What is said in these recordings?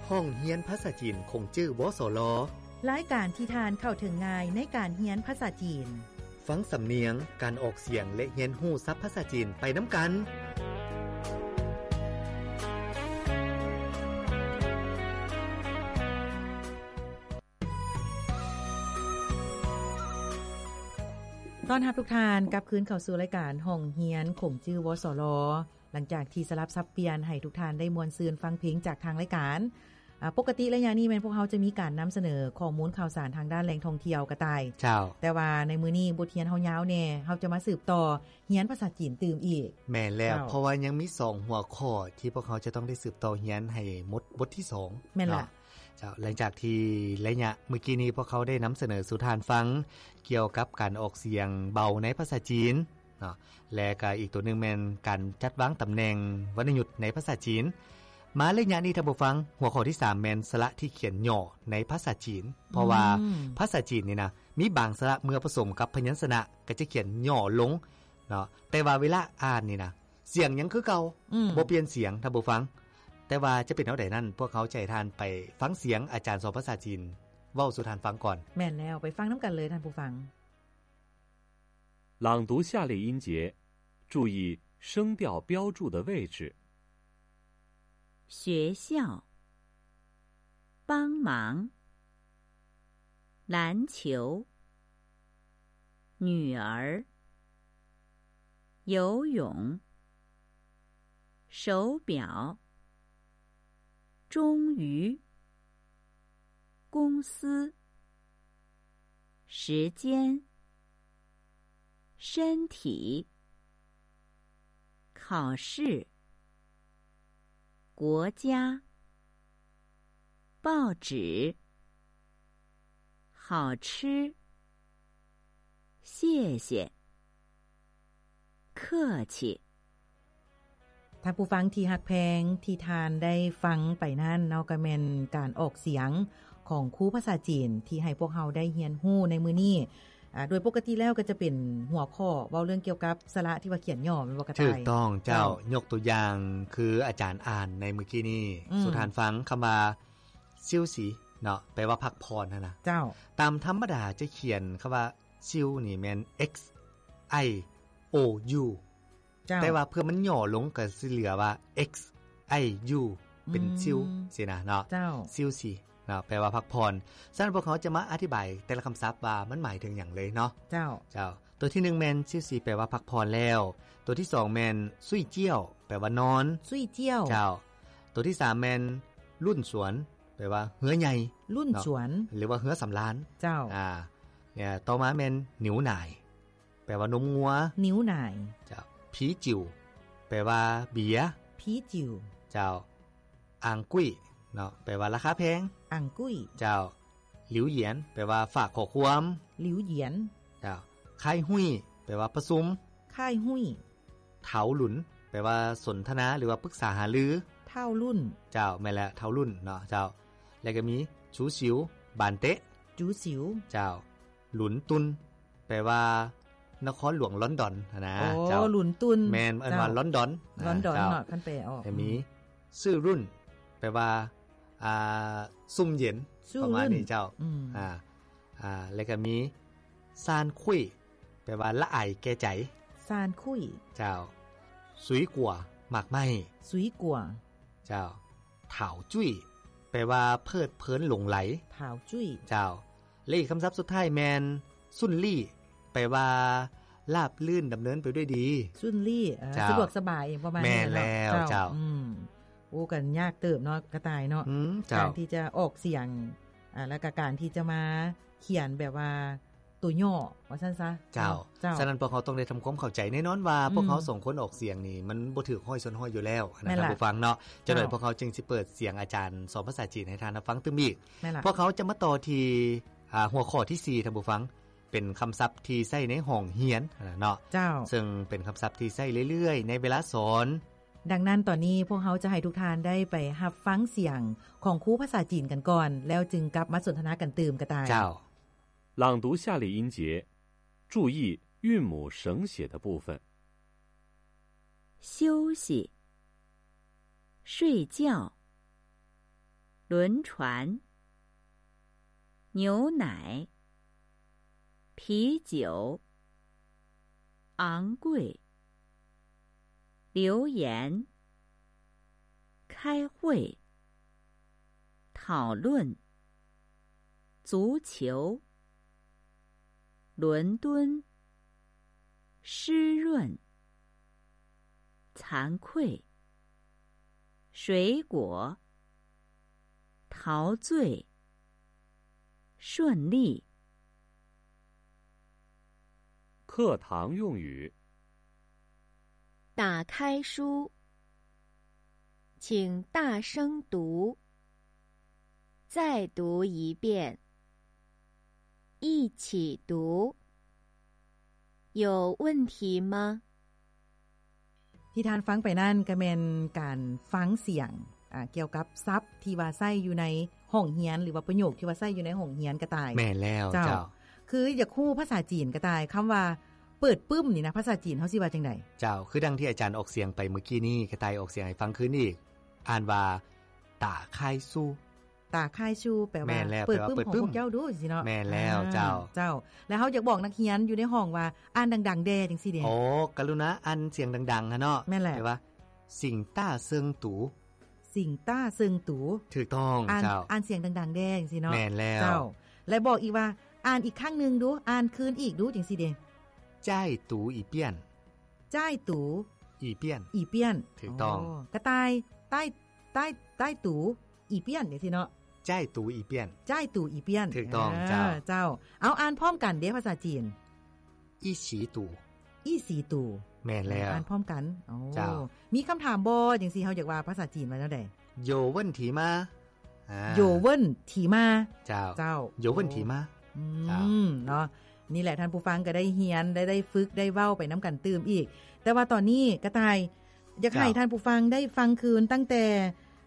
ຫ້ອງຮຽນພາສາຈີນຂົງຈື່ ວສລ. ລາຍການທີ່ທ່ານເຂົ້າເຖິງງ່າຍໃນການຮຽນພາສາຈີນ. ຟັງສຳນຽງ, ການອອກສຽງ ແລະ ຮຽນຮູ້ສັບພາສາຈີນໄປນຳກັນ. ຕ້ອນຮັບທຸກທ່ານກັບຄືນເຂົ້າສູ່ລາຍການຫ້ອງຮຽນຂົງຈື່ ວສລ. ຫຼັງຈາກທີ່ສະຫຼັບສັບປ່ຽນໃຫ້ທຸກທ່ານໄດ້ມ່ວນຊື່ນຟັງເພງຈາກທາງລາຍການ, ອາ, ປົກກະຕິໄລຍະນີ້ແມ່ນພວກເຮົາຈະມີການນຳສະເໜີຂໍ້ມູນຂ່າວສານທາງດ້ານແຫຼ່ງທ່ອງທ່ຽວ ກະຕ່າຍ. ເຈົ້າ. ແຕ່ວ່າໃນມື້ນີ້ບົດຮຽນເຮົາຍາວແດ່, ເຮົາຈະມາສືບຕໍ່ຮຽນພາສາຈີນຕື່ມອີກ. ແມ່ນແລ້ວ. ເຈົ້າ. ເພາະວ່າຍັງມີສອງຫົວຂໍ້ທີ່ພວກເຮົາຈະຕ້ອງໄດ້ສືບຕໍ່ຮຽນໃຫ້ໝົດບົດທີສອງ. ແມ່ນລະ. ເນາະ. ເຈົ້າ. ຫຼັງຈາກທີ່ໄລຍະມື້ກີ້ນີ້ພວກເຮົາໄດ້ນຳສະເໜີສູ່ທ່ານຟັງກ່ຽວກັບການອອກສຽງເບົາໃນພາສາຈີນ ເນາະ ແລະ ກະອີກຕົວໜຶ່ງແມ່ນການຈັດວາງຕຳແໜ່ງວັນນະຍຸດໃນພາສາຈີນ. ມາໄລຍະນີ້ທ່ານຜູ້ຟັງ, ຫົວຂໍ້ທີສາມແມ່ນສະຫຼະທີ່ຂຽນຫຍໍ້ໃນພາສາຈີນ. ເພາະວ່າ ອືມ ພາສາຈີນນີ້ນະ ມີບາງສະຫຼະເມື່ອປະສົມກັບພະຍັນຊະນະກໍຈະຂຽນຫຍໍ້ລົງເນາະ, ແຕ່ວ່າເວລາອ່ານນີ້ນະ ສຽງຍັງຄືເກົ່າ ອືມ ບໍ່ປ່ຽນສຽງທ່ານຜູ້ຟັງ. ແຕ່ວ່າຈະເປັນແນວໃດນັ້ນ ພວກເຮົາຈະໃຫ້ທ່ານໄປຟັງສຽງອາຈານສອນພາສາຈີນເວົ້າສູ່ທ່ານຟັງກ່ອນ. ແມ່ນແລ້ວ, ໄປຟັງນຳກັນເລີຍທ່ານຜູ້ຟັງ. 朗读下列音节，注意声调标注的位置。学校，帮忙，篮球，女儿，游泳，手表， 终于，公司，时间，身体，考试，国家，报纸，好吃，谢谢，客气。 ທ່ານຜູ້ຟັງທີ່ຮັກແພງ, ທີ່ທ່ານໄດ້ຟັງໄປນັ້ນເນາະ ກໍແມ່ນການອອກສຽງຂອງຄູພາສາຈີນ ທີ່ໃຫ້ພວກເຮົາໄດ້ຮຽນຮູ້ໃນມື້ນີ້. ອາ, ໂດຍປົກກະຕິແລ້ວກໍຈະເປັນຫົວຂໍ້ເວົ້າເລື່ອງກ່ຽວກັບສະຫຼະທີ່ວ່າຂຽນຫຍໍ້ ແມ່ນບໍ່ກະຕ່າຍ? ຖືກຕ້ອງເຈົ້າ. ເຈົ້າ. ຍົກຕົວຢ່າງຄືອາຈານອ່ານໃນມື້ກີ້ນີ້ ອືມ ສູ່ທ່ານຟັງ ຄຳວ່າ ຊິວຊີ ເນາະ ແປວ່າພັກຜ່ອນຫັ້ນນະ. ເຈົ້າ. ຕາມທຳມະດາຈະຂຽນຄຳວ່າ ຊິວນີ້ແມ່ນ X I O U ເຈົ້າ ແຕ່ວ່າເພື່ອມັນຫຍໍ້ລົງກໍຊິເຫຼືອວ່າ X I U ເປັນ ອືມ ຊິວຊີ້ນະເນາະ. ເຈົ້າ. ຊິວຊີເນາະ ແປວ່າພັກຜ່ອນ. ສະນັ້ນພວກເຮົາຈະມາອະທິບາຍແຕ່ລະຄຳສັບວ່າມັນໝາຍເຖິງຫຍັງເລີຍເນາະ. ເຈົ້າ. ເຈົ້າ. ຕົວທີໜຶ່ງແມ່ນ ຊິວຊີ ແປວ່າພັກຜ່ອນແລ້ວ. ຕົວທີສອງແມ່ນ ຊຸຍຈຽວ ແປວ່ານອນ. ຊຸຍຈຽວ. ເຈົ້າ. ຕົວທີສາມແມ່ນ ລຸ້ນສວນ ແປວ່າເຮືອໃຫຍ່ ລຸ້ນສວນ ເນາະ ຫຼືວ່າເຮືອສຳລານ. ເຈົ້າ. ອາ ຕໍ່ມາແມ່ນ ໜິວໜາຍ ແປວ່ານົມງົວ. ໜິວໜາຍ. ເຈົ້າ. ຜີຈິ້ວ ແປວ່າເບຍ. ຜີຈິ້ວ. ເຈົ້າ. ອາງກຸ້ຍ ເນາະ ແປວ່າລາຄາແພງ. ອາງກຸ້ຍ. ເຈົ້າ. ຫຼິວຢຽນ ແປວ່າຝາກຂໍ້ຄວາມ. ຫຼິວຢຽນ. ເຈົ້າ. ຄາຍຮຸ້ຍ ແປວ່າປະຊຸມ. ຄາຍຮຸ້ຍ. ເຖົາລຸນ ແປວ່າສົນທະນາ ຫຼືວ່າປຶກສາຫາລື. ເຖົາລຸ້ນ. ເຈົ້າ ແມ່ນແລ້ວ ເຖົາລຸ້ນເນາະ. ເຈົ້າ. ແລ້ວກໍມີ ຈູຊິວ ບານເຕະ. ຈູຊິວ. ເຈົ້າ. ລຸນຕຸນ ແປວ່ານະຄອນຫຼວງລອນດອນຫັ້ນນະ. ໂອ້ ເຈົ້າ. ລຸນຕຸນ. ແມ່ນ ເອີ້ນວ່າ ເຈົ້າ ລອນດອນ. ລອນດອນ ເຈົ້າ ເນາະ ຄັນແປອອກ. ແລ້ວມີ ອືມ ຊື່ລຸ້ນ ແປວ່າ ອ່າ ຊຸ່ມເຢັນ ປະມານນີ້. ເຈົ້າ. ອືມ. ອາ ອາ ແລ້ວກໍມີ ຊານຄຸ້ຍ ແປວ່າລະອາຍແກ່ໃຈ. ຊານຄຸ້ຍ. ເຈົ້າ. ຊຸຍກົວ ໝາກໄມ້. ຊຸຍກົວ. ເຈົ້າ. ຖາວຈຸ້ຍ ແປວ່າເພີດເພີນຫຼົງໄຫຼ. ຖາວຈຸ້ຍ. ເຈົ້າ. ແລະ ອີກຄຳສັບສຸດທ້າຍແມ່ນ ຊຸນລີ້ ແປວ່າລາບລື່ນດຳເນີນໄປດ້ວຍດີ. ຊຸນລີ້. ເອີ ເຈົ້າ. ສະດວກສະບາຍ ປະມານນີ້ເນາະ. ແມ່ນແລ້ວ. ເຈົ້າ. ເຈົ້າ. ອືມ. ໂອ້ ກໍຍາກເຕີບເນາະ ກະຕ່າຍເນາະ. ອືມ. ເຈົ້າ. ການທີ່ຈະອອກສຽງ ອາ ແລະກະການທີ່ຈະມາຂຽນແບບວ່າໂຕຫຍໍ້ວ່າຊັ້ນຊະ. ເຈົ້າ. ເຈົ້າ. ສະນັ້ນພວກເຮົາຕ້ອງໄດ້ທຳຄວາມເຂົ້າໃຈ. ແນ່ນອນວ່າ ອືມ ພວກເຮົາສອງຄົນອອກສຽງນີ້ ມັນບໍ່ຖືກຮ້ອຍສ່ວນຮ້ອຍຢູ່ແລ້ວນະ ແມ່ນລະ ທ່ານຜູ້ຟັງເນາະ. ເຈົ້າ. ຈັກໜ່ອຍພວກເຮົາຈຶ່ງຊິເປີດສຽງອາຈານສອນພາສາຈີນໃຫ້ທ່ານຮັບຟັງຕື່ມອີກ. ແມ່ນລະ. ພວກເຮົາຈະມາຕໍ່ທີ່ ອາ ຫົວຂໍ້ທີສີ່ ທ່ານຜູ້ຟັງ ເປັນຄຳສັບທີ່ໃຊ້ໃນຫ້ອງຮຽນຫັ້ນນະເນາະ. ເຈົ້າ. ເຊິ່ງເປັນຄຳສັບທີ່ໃຊ້ເລື້ອຍໆໃນເວລາສອນ. ດັ່ງນັ້ນ ຕອນນີ້ພວກເຮົາຈະໃຫ້ທຸກທ່ານໄດ້ໄປຮັບຟັງສຽງຂອງຄູພາສາຈີນກັນກ່ອນ ແລ້ວຈຶ່ງກັບມາສົນທະນາກັນຕື່ມ ກະຕ່າຍ. ເຈົ້າ. 朗读下列音节，注意韵母省写的部分。休息，睡觉，轮船、牛奶、啤酒、昂贵、留言、开会、讨论、足球、伦敦、湿润、惭愧、水果、陶醉、顺利。课堂用语。打开书，请大声读，再读一遍，一起读。有问题吗？ ທີ່ທ່ານຟັງໄປນັ້ນກໍແມ່ນການຟັງສຽງ ອ່າ ກ່ຽວກັບສັບທີ່ວ່າໃຊ້ຢູ່ໃນຫ້ອງຮຽນ ຫຼືວ່າປະໂຫຍກທີ່ວ່າໃຊ້ຢູ່ໃນຫ້ອງຮຽນກະຕ່າຍ. ແມ່ນແລ້ວ ເຈົ້າ ເຈົ້າ ຄືຢາກຮູ້ພາສາຈີນກະຕ່າຍ ຄຳວ່າເປີດປຶ້ມນີ້ນະ ພາສາຈີນເຮົາຊິວ່າຈັ່ງໃດ? ເຈົ້າ ຄືດັ່ງທີ່ອາຈານອອກສຽງໄປມື້ກີ້ນີ້ ກະຕ່າຍອອກສຽງໃຫ້ຟັງຄືນອີກ ອ່ານວ່າ ຕາຄາຍຊູ ຕາຄາຍຊູ ແປວ່າ ແມ່ນແລ້ວ ເປີດປຶ້ມ ແປວ່າເປີດປຶ້ມຂອງພວກເຈົ້າດູ ຊີ້ເນາະ. ແມ່ນແລ້ວ ອ່າ ເຈົ້າ ເຈົ້າ ແລ້ວເຮົາຢາກບອກນັກຮຽນຢູ່ໃນຫ້ອງວ່າ ອ່ານດັງໆແດ່ ຈັ່ງຊີ້ເດ. ໂອ້ ກະລຸນາອ່ານສຽງດັງໆຫັ້ນເນາະ. ແມ່ນແຫຼະ ແປວ່າ ສິງຕ້າເຊິ່ງຕູ ສິງຕ້າເຊິ່ງຕູ. ຖືກຕ້ອງ ອ່ານ ເຈົ້າ ອ່ານສຽງດັງໆແດ່ ຈັ່ງຊີ້ເນາະ. ແມ່ນແລ້ວ ເຈົ້າ ແລະບອກອີກວ່າ ອ່ານອີກຄັ້ງໜຶ່ງດູ ອ່ານຄືນອີກດູ ຈັ່ງຊີ້ເດ. ຈ້າຍຕູອີ່ປຽນ ຈ້າຍຕູອີ່ປຽນ ອີ່ປຽນ. ຖືກຕ້ອງ ໂອ້ ກະຕ່າຍ ຕ້າຍ ຕ້າຍ ຕ້າຍຕູອີ່ປຽນ ຈັ່ງຊີ້ເນາະ. ຈ້າຍຕູອີ່ປຽນ ຈ້າຍຕູອີ່ປຽນ. ຖືກຕ້ອງ ເຈົ້າ ເຈົ້າ ເອົາ ອ່ານພ້ອມກັນເດ້ ພາສາຈີນ ອີ່ສີຕູ ອີ່ສີຕູ. ແມ່ນແລ້ວ ອ່ານພ້ອມກັນ. ໂອ້ ເຈົ້າ ມີຄຳຖາມບໍ່ ຈັ່ງຊີ້ ເຮົາຢາກວ່າພາສາຈີນວ່າແນວໃດ? ໂຢເວິ້ນຖີມາ ອ່າ ໂຢເວິ້ນຖີມາ. ເຈົ້າ ເຈົ້າ ໂຢເວິ້ນຖີມາ. ອືມ ເຈົ້າ ເນາະ ນີ້ແຫຼະ ທ່ານຜູ້ຟັງກໍໄດ້ຮຽນ ໄດ້ ໄດ້ຝຶກ ໄດ້ເວົ້າໄປນຳກັນຕື່ມອີກ. ແຕ່ວ່າຕອນນີ້ກະຕ່າຍຢາກໃຫ້ ເຈົ້າ ທ່ານຜູ້ຟັງໄດ້ຟັງຄືນຕັ້ງແຕ່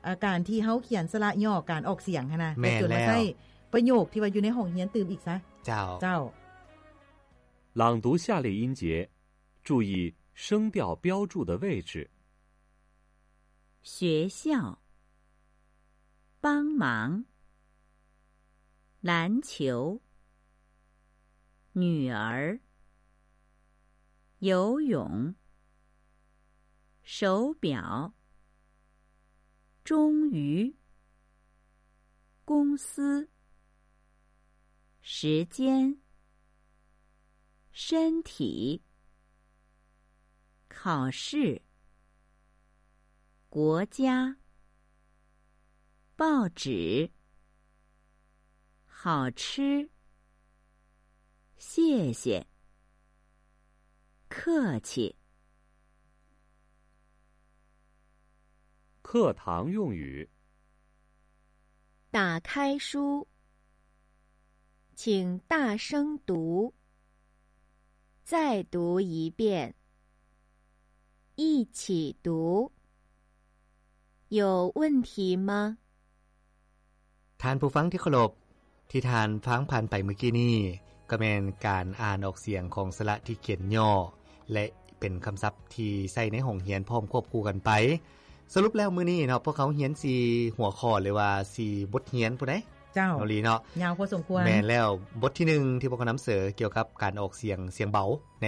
ເອີ ການທີ່ເຮົາຂຽນສະຫຼະຫຍໍ້ ການອອກສຽງຫັ້ນນະ ແມ່ນແລ້ວ ແລະ ຈົນມາໃຊ້ປະໂຫຍກທີ່ວ່າຢູ່ໃນຫ້ອງຮຽນຕື່ມອີກຊະ. ເຈົ້າ ເຈົ້າ. 朗读下列音节，注意声调标注的位置。学校，帮忙，篮球，女儿，游泳，手表，终于，公司，时间， 身体，考试，国家，报纸，好吃，谢谢，客气。课堂用语。 打开书，请大声读，再读一遍，一起读。有问题吗？ ທ່ານຜູ້ຟັງທີ່ເຄົາລົບ, ທີ່ທ່ານຟັງຜ່ານໄປເມື່ອກີ້ນີ້ ກໍແມ່ນການອ່ານອອກສຽງຂອງສະຫຼະທີ່ຂຽນຫຍໍ້ ແລະ ເປັນຄຳສັບທີ່ໃຊ້ໃນຫ້ອງຮຽນພ້ອມຄວບຄູ່ກັນໄປ. ສະຫຼຸບແລ້ວມື້ນີ້ເນາະ ພວກເຮົາຮຽນສີ່ຫົວຂໍ້ ຫຼືວ່າສີ່ບົດຮຽນພຸ້ນໃດ໋. ເຈົ້າ ນ້ອງລີເນາະ. ຍາວພໍສົມຄວນ. ແມ່ນແລ້ວ. ບົດທີໜຶ່ງທີ່ພວກເຮົານຳເສີກ່ຽວກັບການອອກສຽງ ສຽງເບົາໃນ